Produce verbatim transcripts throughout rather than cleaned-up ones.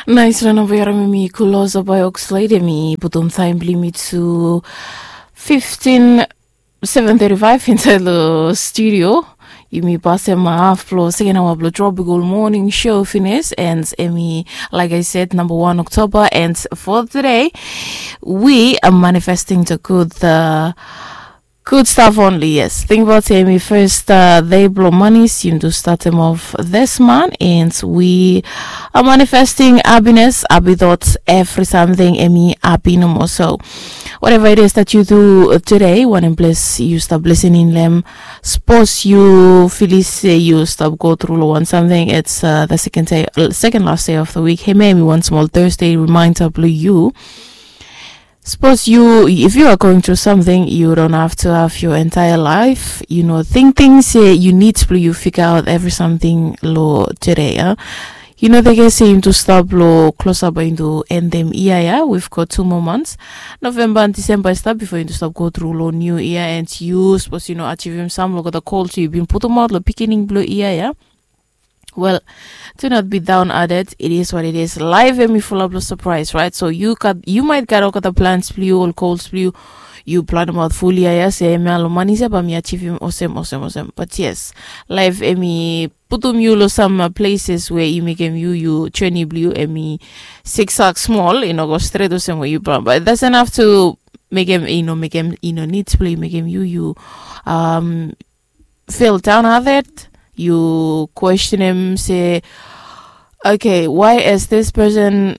Nais na namba ya, mi Kulosa by Oxlade, mi putum taem blong yumi tu fifteen seven thirty-five insaed long studio. Yumi pasem haf blong seken aoa blong Tropical Morning Show finis, and hemi, like I said, number one October, and for today we are manifesting the good, uh, good stuff only. Yes, tingbaot hemi fes, uh, dei blong manis, yumi tu statem of this month, and we are manifesting happiness, happy thoughts, evri samting hemi hapi nomo. So whatever it is that you do today, wanem ples yu stap lisening long hem, sapos yu filis se yu stap go tru long wan samting, it's, uh, the second day, uh, second last day of the week. Hemia hemi wan smol Thursday reminder blong yu. Sapos yu, if you are going through something, you don't have to have your entire life, you know, tingting se yu nid blong yu figaot evri samting long today, a? Yu no teke se yumi tu stap long klosap, bae yumi tu endem yia ya. We've got two more months. Novemba and Disemba i stap bifo yumi tu stap go tru long niu yia, and yu, sapos yu no ajivim sam long olgeta gols yu bin putumaot long beginning blong yia ya. Well, do not be down at it. It is what it is. Laef hemi fulap long surprise, right? So yu gat, yu maet gat olgeta plans blong yu, ol gols blong yu, yu planemaot ful yia ya se hemia long manis ya bae mi ajivim olsem, olsem, olsem. But yes, laef hemi putum yu long sam, uh, places we i mekem yu, yu journey blong yu hemi zigzag smol, i no go stret olsem we yu plan. But it doesn't have to mekem, i no mekem, i no nid blong yu mekem yu, yu, um, feel downhearted, yu kwestenem se, okay, why is this person,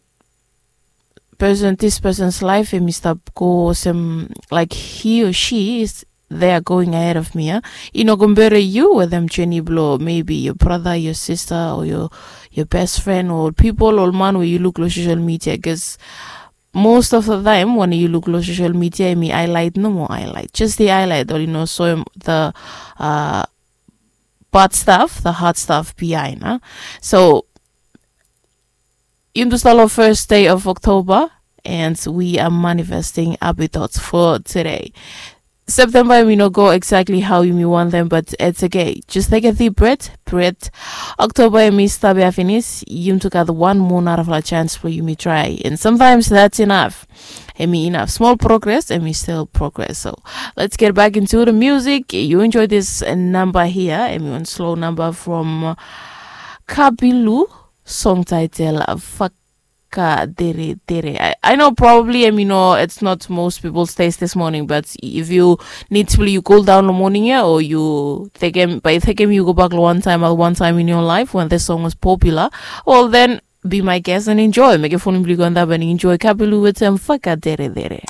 person, this person's life hemi stap go olsem, like, he or she is, they are going ahead of me, a? I no compare yu wetem journey blong maybe your brother, your sister, or your, your best friend, or people, ol man we yu luk long social media, 'cause most of the time wanem yu luk long social media hemi highlight nomo, highlight, just the highlight, oli no soem the, uh, bad stuff, the hard stuff behind, a? So yumi tu stap long first day of October, and we are manifesting happy thoughts for today. Septemba hemi no go exactly how yumi wantem, but it's okay. Just take a deep breath, breathe. October hemi stap ya finis, yumi tu gat wan moa narafala chance blong yumi traem, and sometimes that's enough. Hemi enough. Smol progress, hemi still progress. So let's get back into the music. Yu enjoy this, uh, namba hia, hemi wan slow namba from, uh, Kabilu, song title, uh, Fakaderedere. I, I know probably, I mean, no, it's not most people's taste this morning, but if yu nid blong yu cool down long moning ya, o yu tekem, bae tekem yu gobak long wan taem, uh, one time in your life when this song was popular, well, then be my guest and enjoy. Mekem fon blong yu go antap and enjoy Kabilu wetem Fakaderedere.